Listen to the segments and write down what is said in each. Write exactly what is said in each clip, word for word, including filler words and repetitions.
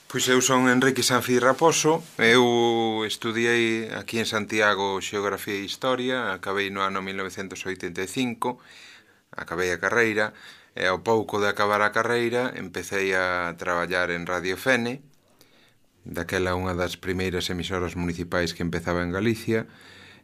Pois eu son Enrique Sanfi Raposo, eu estudiei aquí en Santiago Xeografía e Historia, acabei no ano mil novecentos oitenta e cinco, acabei a carreira, e ao pouco de acabar a carreira empecé a traballar en Radio Fene, daquela unha das primeiras emisoras municipais que empezaba en Galicia,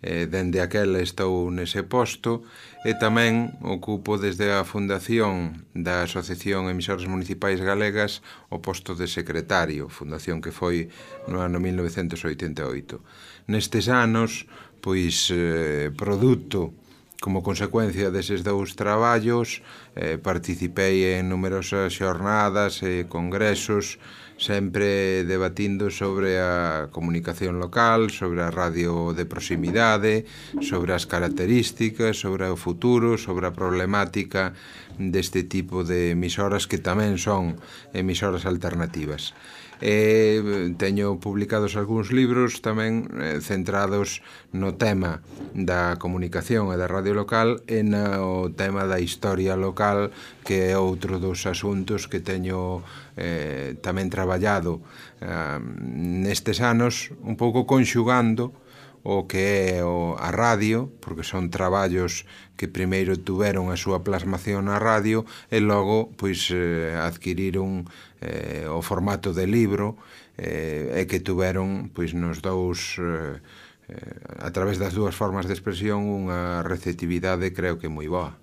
e dende aquela estou nese posto e tamén ocupo desde a fundación da Asociación Emisoras Municipais Galegas o posto de secretario, fundación que foi no ano mil novecentos oitenta e oito. Nestes anos, pois, eh, produto como consecuencia deses dous traballos, eh, participei en numerosas xornadas e congresos, sempre debatindo sobre a comunicación local, sobre a radio de proximidade, sobre as características, sobre o futuro, sobre a problemática deste tipo de emisoras que tamén son emisoras alternativas. E teño publicados algúns libros tamén eh, centrados no tema da comunicación e da radio local e no tema da historia local, que é outro dos asuntos que teño eh, tamén traballado eh, nestes anos, un pouco conxugando o que é o, a radio, porque son traballos que primeiro tuveron a súa plasmación na radio e logo pois eh, adquiriron eh, o formato de libro eh, e que tuveron pois nos dous eh, eh, a través das dúas formas de expresión unha receptividade creo que moi boa.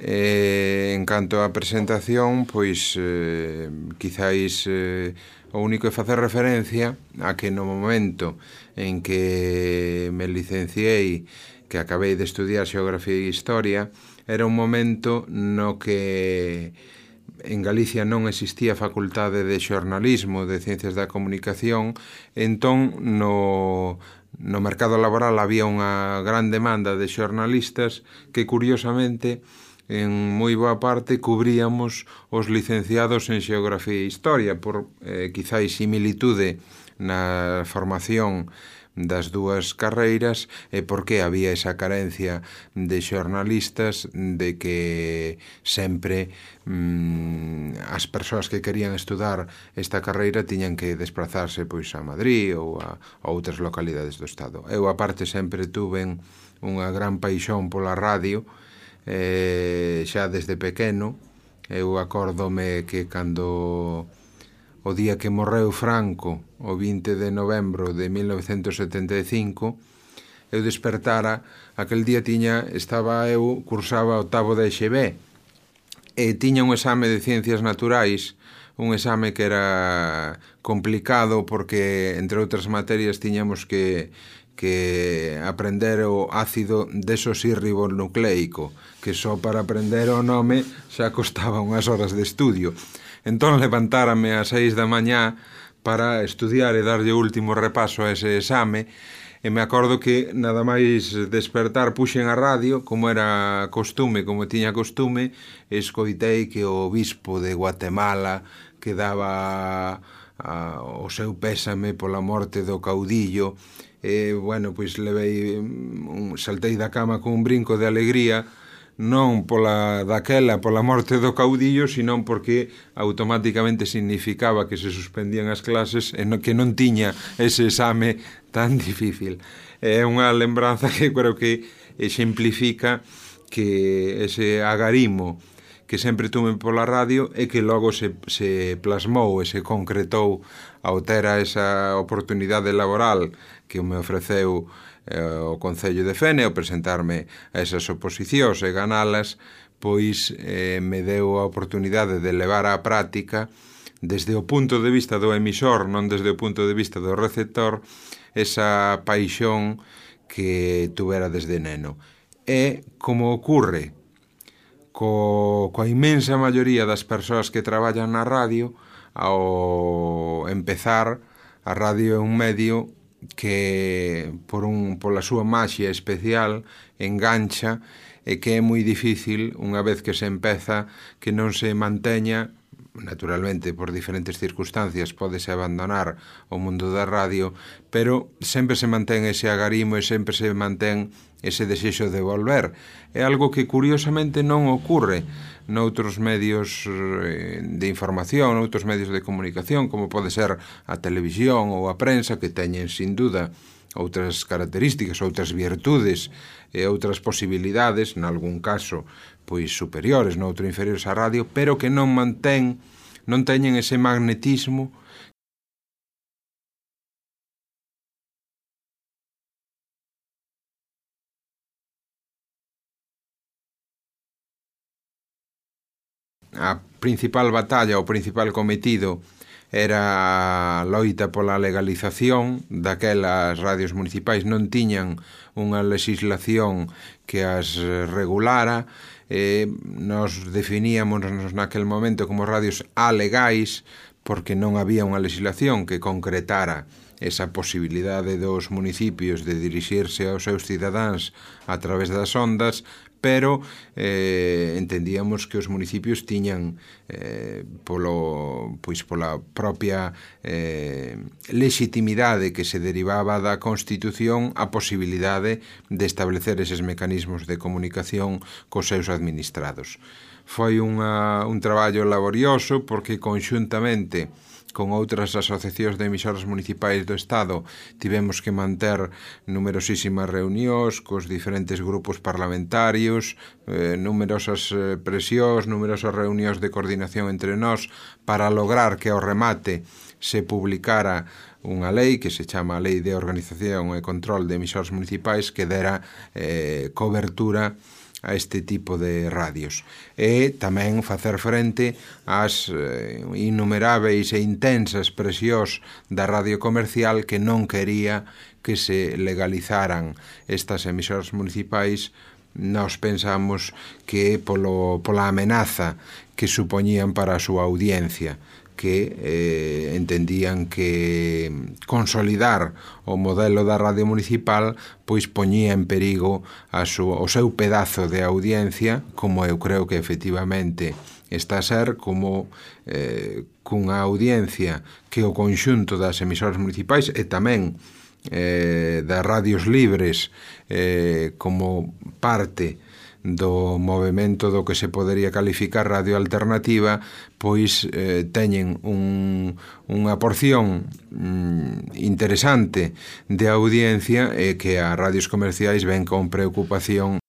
E, en canto á presentación, pois eh, quizáis eh, o único é facer referencia a que no momento en que me licenciei, que acabei de estudiar Xeografía e Historia, era un momento no que en Galicia non existía facultade de xornalismo, de ciencias da comunicación, entón no, no mercado laboral había unha gran demanda de xornalistas que curiosamente en moi boa parte cubríamos os licenciados en Xeografía e Historia por eh, quizáis similitude na formación das dúas carreiras e porque había esa carencia de xornalistas de que sempre mm, as persoas que querían estudar esta carreira tiñan que desplazarse pois a Madrid ou a, a outras localidades do Estado. Eu aparte sempre tuve unha gran paixón pola radio, eh, xa desde pequeno. Eu acórdome que cando o día que morreu Franco, o vinte de novembro de mil novecentos setenta e cinco, eu despertara, aquel día tiña, estaba eu, cursaba octavo de X B, e tiña un exame de Ciencias Naturais, un exame que era complicado porque, entre outras materias, tiñamos que que aprender o ácido desoxirribonucleico, que só para aprender o nome xa costaba unhas horas de estudio. Entón levantárame ás seis da mañá para estudiar e darlle o último repaso a ese exame, e me acordo que nada máis despertar puxen a radio, como era costume, como tiña costume, e escoitei que o obispo de Guatemala que daba a, o seu pésame pola morte do caudillo. E, bueno, pois levei, un, saltei da cama con un brinco de alegría, non pola daquela, pola morte do caudillo, sino porque automáticamente significaba que se suspendían as clases e no, que non tiña ese exame tan difícil. É unha lembranza que creo que exemplifica que ese agarimo que sempre tuve pola radio e que logo se, se plasmou e se concretou ao ter a esa oportunidade laboral que me ofreceu eh, o Concello de Fene ao presentarme a esas oposicións e ganalas, pois eh, me deu a oportunidade de levar á práctica desde o punto de vista do emisor, non desde o punto de vista do receptor, esa paixón que tuvera desde neno. E como ocorre co, coa inmensa maioría das persoas que traballan na radio, ao empezar, a radio é un medio que por un, pola súa maxia especial engancha e que é moi difícil, unha vez que se empeza, que non se manteña naturalmente por diferentes circunstancias pódese abandonar o mundo da radio, pero sempre se mantén ese agarimo e sempre se mantén ese desexo de volver. É algo que curiosamente non ocurre noutros medios de información, noutros medios de comunicación, como pode ser a televisión ou a prensa, que teñen, sin duda, outras características, outras virtudes e outras posibilidades, nalgún caso, pois superiores, noutro inferiores á radio, pero que non mantén, non teñen ese magnetismo a principal batalla, o principal cometido era a loita pola legalización daquelas radios municipais. Non tiñan unha legislación que as regulara, eh, nos definíamos naquel momento como radios alegais porque non había unha legislación que concretara esa posibilidade dos municipios de dirixirse aos seus cidadáns a través das ondas, pero eh, entendíamos que os municipios tiñan eh, polo, pois pola propia eh, legitimidade que se derivaba da Constitución a posibilidade de establecer eses mecanismos de comunicación cos seus administrados. Foi unha, un traballo laborioso porque conxuntamente con outras asociacións de emisoras municipais do Estado tivemos que manter numerosísimas reunións cos diferentes grupos parlamentarios, eh, numerosas eh, presións, numerosas reunións de coordinación entre nós para lograr que ao remate se publicara unha lei que se chama a Lei de Organización e Control de Emisoras Municipais que dera eh, cobertura a este tipo de radios e tamén facer frente ás eh, innumeráveis e intensas presións da radio comercial que non quería que se legalizaran estas emisoras municipais. Nós pensamos que polo, pola amenaza que supoñían para a súa audiencia, que eh, entendían que consolidar o modelo da radio municipal pois poñía en perigo a súa, o seu pedazo de audiencia, como eu creo que efectivamente está a ser, como eh, cunha audiencia que o conxunto das emisoras municipais e tamén eh, das radios libres eh, como parte do movimento do que se podería calificar radio alternativa, pois eh, teñen un, unha porción mm, interesante de audiencia e que as radios comerciais ven con preocupación.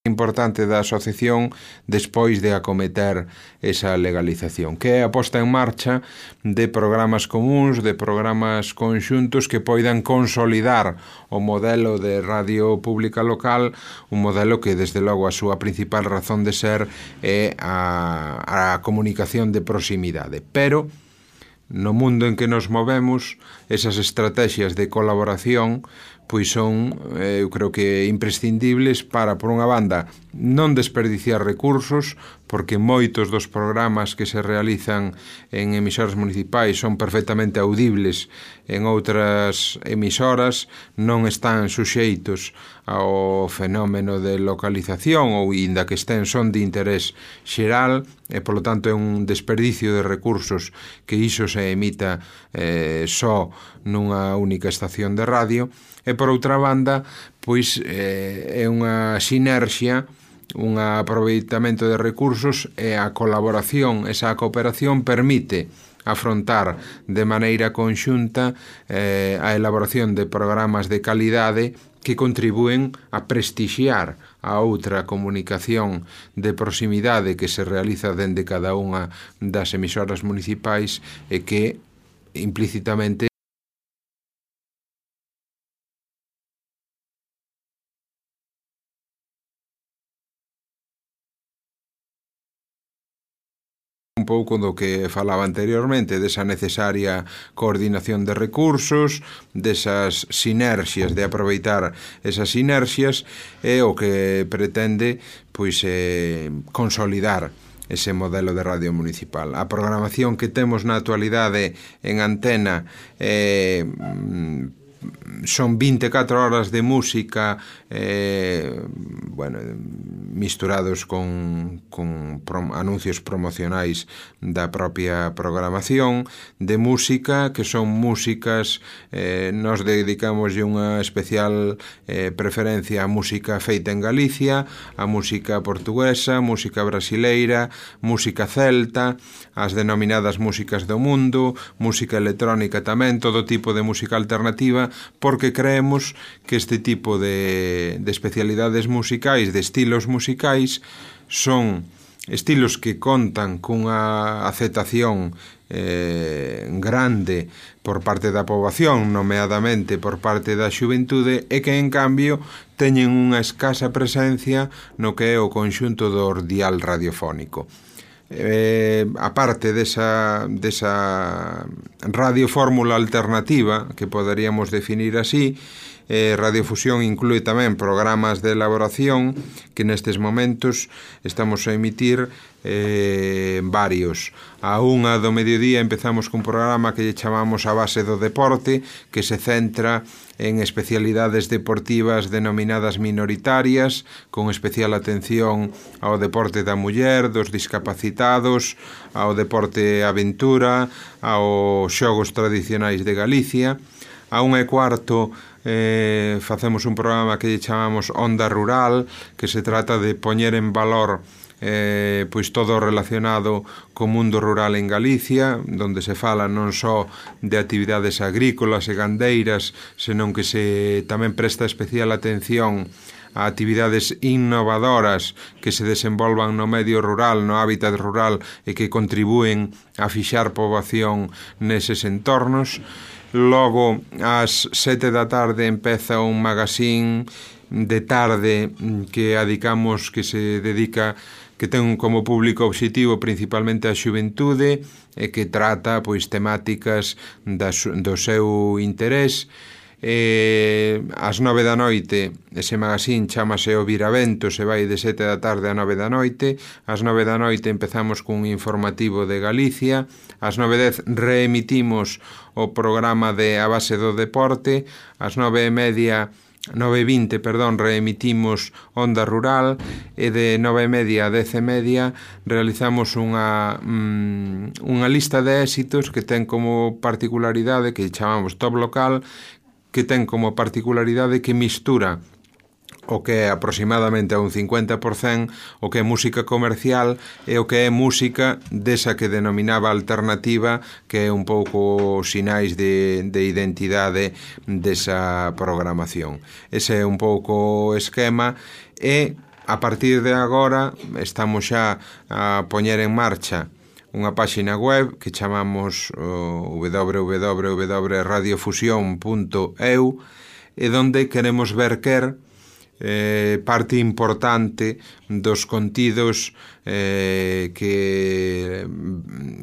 Importante da asociación despois de acometer esa legalización, que é a posta en marcha de programas comuns, de programas conxuntos que poidan consolidar o modelo de radio pública local, un modelo que desde logo a súa principal razón de ser é a, a comunicación de proximidade, pero no mundo en que nos movemos esas estrategias de colaboración pois son, eu creo que imprescindibles para, por unha banda, non desperdiciar recursos, porque moitos dos programas que se realizan en emisoras municipais son perfectamente audibles en outras emisoras, non están suxeitos ao fenómeno de localización ou inda que estén son de interés xeral e, polo tanto, é un desperdicio de recursos que iso se emita eh, só nunha única estación de radio. E, por outra banda, pois eh, é unha sinerxia, un aproveitamento de recursos e a colaboración, esa cooperación permite afrontar de maneira conxunta eh, a elaboración de programas de calidade que contribúen a prestixiar a outra comunicación de proximidade que se realiza dende cada unha das emisoras municipais e que implícitamente un pouco do que falaba anteriormente, desa necesaria coordinación de recursos, desas sinerxias, de aproveitar esas sinerxias, e o que pretende pois eh, consolidar ese modelo de radio municipal. A programación que temos na actualidade en antena eh, son vinte e catro horas de música, eh, bueno, misturados con, con prom anuncios promocionais da propia programación, de música que son músicas, eh, nos dedicamos unha especial eh, preferencia á música feita en Galicia, a música portuguesa, música brasileira, música celta, as denominadas músicas do mundo, música electrónica tamén, todo tipo de música alternativa, porque creemos que este tipo de, de especialidades musicais, de estilos musicais, son estilos que contan cunha aceptación eh, grande por parte da poboación, nomeadamente por parte da xuventude, e que, en cambio, teñen unha escasa presencia no que é o conxunto do dial radiofónico. Eh, aparte desa, desa radiofórmula alternativa, que poderíamos definir así, eh, Radiofusión inclúe tamén programas de elaboración que nestes momentos estamos a emitir eh, varios. A unha do mediodía empezamos cun programa que lle chamamos A Base do Deporte, que se centra en especialidades deportivas denominadas minoritarias, con especial atención ao deporte da muller, dos discapacitados, ao deporte aventura, aos xogos tradicionais de Galicia. A unha e cuarto eh, facemos un programa que lle chamamos Onda Rural, que se trata de poñer en valor Eh, pois todo relacionado co mundo rural en Galicia, donde se fala non só de actividades agrícolas e gandeiras, senón que se tamén presta especial atención a actividades innovadoras que se desenvolvan no medio rural, no hábitat rural, e que contribúen a fixar poboación neses entornos. Logo, ás sete da tarde empeza un magazín de tarde que adicamos, que se dedica, que ten como público obxectivo principalmente a xuventude e que trata pois temáticas da, do seu interés. E ás nove da noite ese magazín chamase O Viravento, se vai de sete da tarde a nove da noite. Ás nove da noite empezamos cun informativo de Galicia. Ás nove e dez reemitimos o programa de A Base do Deporte. Ás nove e media nove e vinte, perdón, reemitimos Onda Rural, e de nove e media a dez e media realizamos unha mm, unha lista de éxitos que ten como particularidade, que chamamos Top Local, que ten como particularidade que mistura o que é aproximadamente a un cincuenta por cento o que é música comercial e o que é música desa que denominaba alternativa, que é un pouco sinais de, de identidade desa programación. Ese é un pouco o esquema, e a partir de agora estamos xa a poñer en marcha unha páxina web que chamamos uh, w w w punto radiofusión punto e u, e donde queremos verter Eh, parte importante dos contidos eh, que,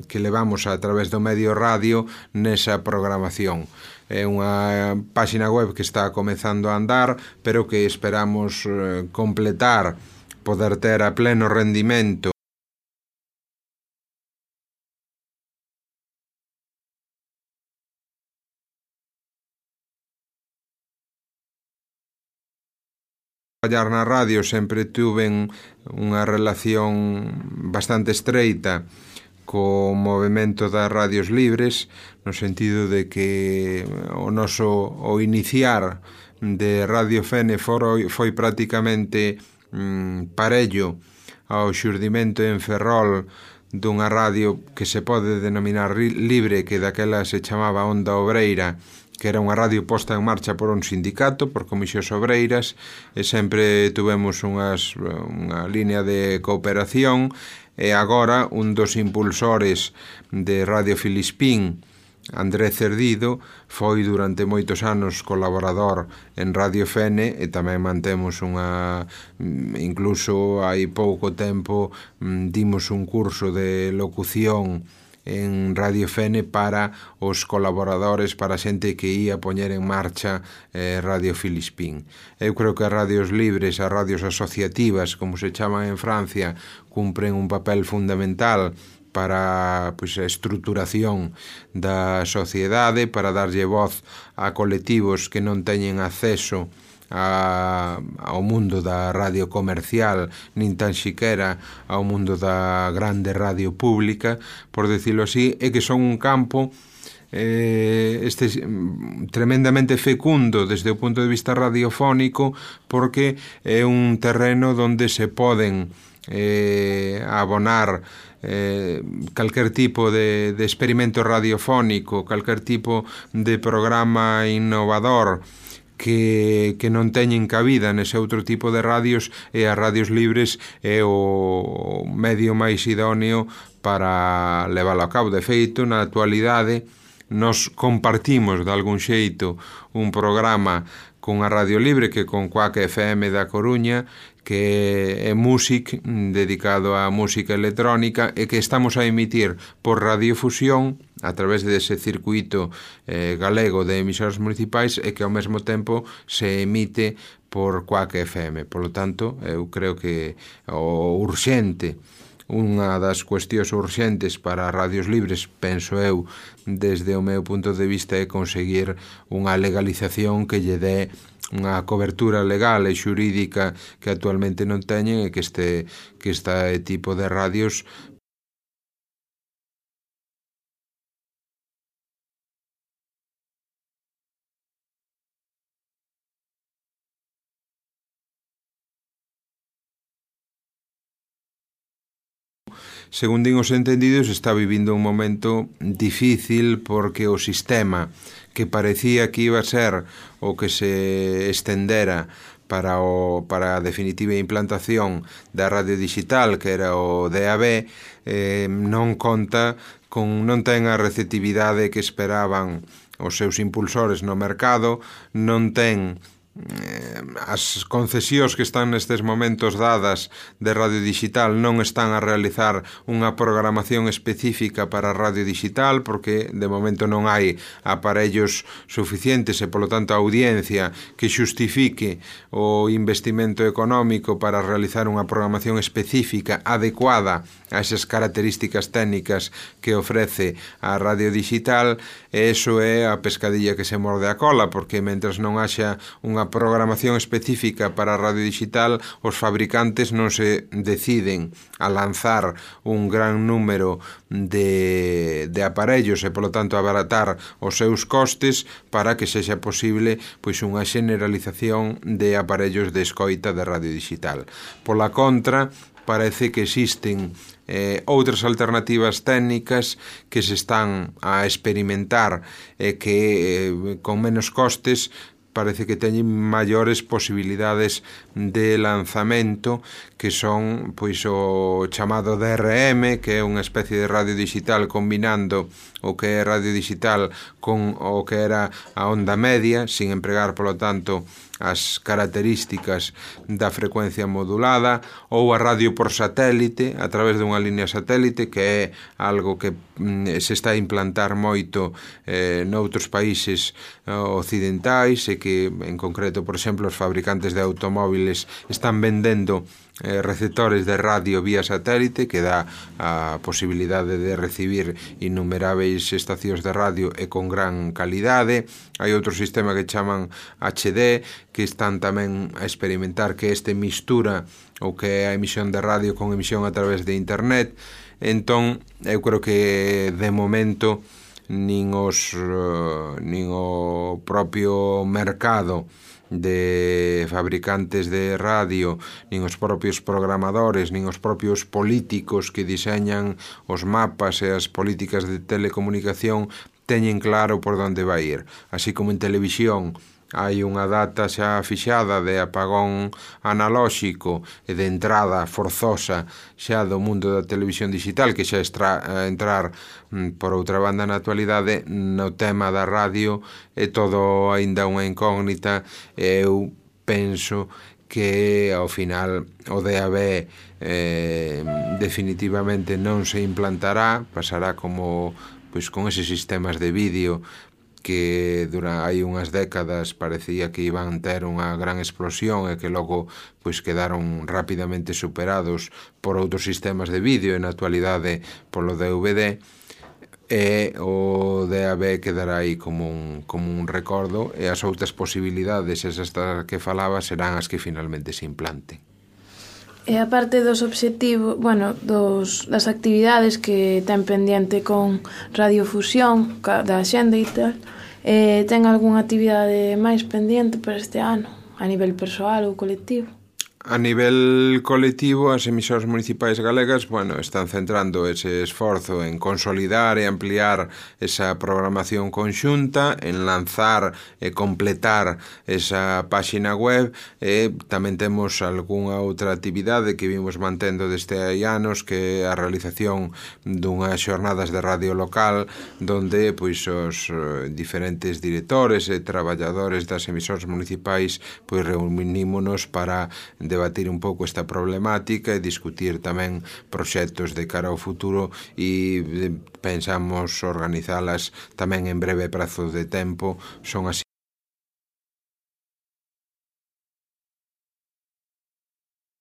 que levamos a través do medio radio nesa programación. É unha páxina web que está comezando a andar, pero que esperamos eh, completar, poder ter a pleno rendimento traballar na radio. Sempre tuven unha relación bastante estreita co movimento das radios libres, no sentido de que o noso o iniciar de Radio Fene foi, foi prácticamente mm, parello ao xurdimento en Ferrol dunha radio que se pode denominar libre, que daquela se chamaba Onda Obreira, que era unha radio posta en marcha por un sindicato, por comisións obreiras, e sempre tuvemos unhas, unha línea de cooperación. E agora un dos impulsores de Radio Filispín, André Cerdido, foi durante moitos anos colaborador en Radio Fene, e tamén mantemos unha, incluso hai pouco tempo dimos un curso de locución en Radio Fene para os colaboradores, para a xente que ia poñer en marcha eh, Radio Filispín. Eu creo que as radios libres, as radios asociativas, como se chaman en Francia, cumpren un papel fundamental para pois, a estruturación da sociedade, para darlle voz a colectivos que non teñen acceso A, ao mundo da radio comercial, nin tan siquera ao mundo da grande radio pública, por decirlo así, e que son un campo eh, este tremendamente fecundo desde o punto de vista radiofónico, porque é un terreno donde se poden eh, abonar eh, calquer tipo de, de experimento radiofónico, calquer tipo de programa innovador que, que non teñen cabida nese outro tipo de radios, e as radios libres é o medio máis idóneo para leválo a cabo. De feito, na actualidade, nos compartimos de algún xeito un programa con a Radio Libre, que con Quack F M da Coruña, que é Music, dedicado á música electrónica, e que estamos a emitir por radiofusión a través dese circuito eh, galego de emisoras municipais, e que ao mesmo tempo se emite por Quack F M. Por lo tanto, eu creo que o urxente, unha das cuestións urxentes para as radios libres, penso eu, desde o meu punto de vista, é conseguir unha legalización que lle dé unha cobertura legal e xurídica que actualmente non teñen, e que este, que este tipo de radios según din os entendidos, está vivindo un momento difícil, porque o sistema que parecía que iba a ser o que se estendera para, o, para a definitiva implantación da radio digital, que era o D A B, eh, non conta con, non ten a receptividade que esperaban os seus impulsores no mercado, non ten as concesións que están nestes momentos dadas de radio digital, non están a realizar unha programación específica para a radio digital, porque de momento non hai aparellos suficientes e, polo tanto, a audiencia que xustifique o investimento económico para realizar unha programación específica adecuada a esas características técnicas que ofrece a radio digital. E iso é a pescadilla que se morde a cola, porque mentras non haxa unha programación específica para a radio digital, os fabricantes non se deciden a lanzar un gran número de, de aparellos e, polo tanto, abaratar os seus costes para que sexa posible pois unha generalización de aparellos de escoita de radio digital. Pola contra, parece que existen eh, outras alternativas técnicas que se están a experimentar e eh, que eh, con menos costes parece que teñen maiores posibilidades de lanzamento, que son pois o chamado D R M, que é unha especie de radio digital combinando o que é radio digital con o que era a onda media, sin empregar, polo tanto, as características da frecuencia modulada, ou a radio por satélite, a través dunha línea satélite, que é algo que mm, se está a implantar moito eh, noutros países eh, occidentais, e que, en concreto, por exemplo, os fabricantes de automóviles están vendendo eh, receptores de radio vía satélite, que dá a posibilidade de recibir innumeráveis estacións de radio e con gran calidade. Hai outro sistema que chaman H D, que están tamén a experimentar, que este mistura o que é a emisión de radio con emisión a través de internet. Entón, eu creo que de momento nin os uh, nin o propio mercado de fabricantes de radio, nin os propios programadores, nin os propios políticos que diseñan os mapas e as políticas de telecomunicación teñen claro por onde vai ir. Así como en televisión hai unha data xa fixada de apagón analóxico e de entrada forzosa xa do mundo da televisión digital, que xa está a entrar por outra banda na actualidade, no tema da radio é todo aínda unha incógnita. Eu penso que ao final o D A B eh, definitivamente non se implantará, pasará como pois con eses sistemas de vídeo que dura hai unhas décadas parecía que iban ter unha gran explosión e que logo pois quedaron rapidamente superados por outros sistemas de vídeo e na actualidade polo D V D, e o D A B quedará aí como un, como un recordo, e as outras posibilidades, esas que falaba, serán as que finalmente se implanten. E a parte dos obxectivos, bueno, dos, das actividades que ten pendiente con Radiofusión, da xenda e tal, eh, ten algunha actividade máis pendiente para este ano, a nivel persoal ou colectivo? A nivel colectivo, as emisoras municipais galegas, bueno, están centrando ese esforzo en consolidar e ampliar esa programación conxunta, en lanzar e completar esa páxina web, e tamén temos algunha outra actividade que vimos mantendo desde hai anos, que é a realización dunhas xornadas de radio local, donde pois os diferentes directores e traballadores das emisoras municipais pois reunímonos para debatir un pouco esta problemática e discutir tamén proxectos de cara ao futuro, e pensamos organizalas tamén en breve prazo de tempo. Son así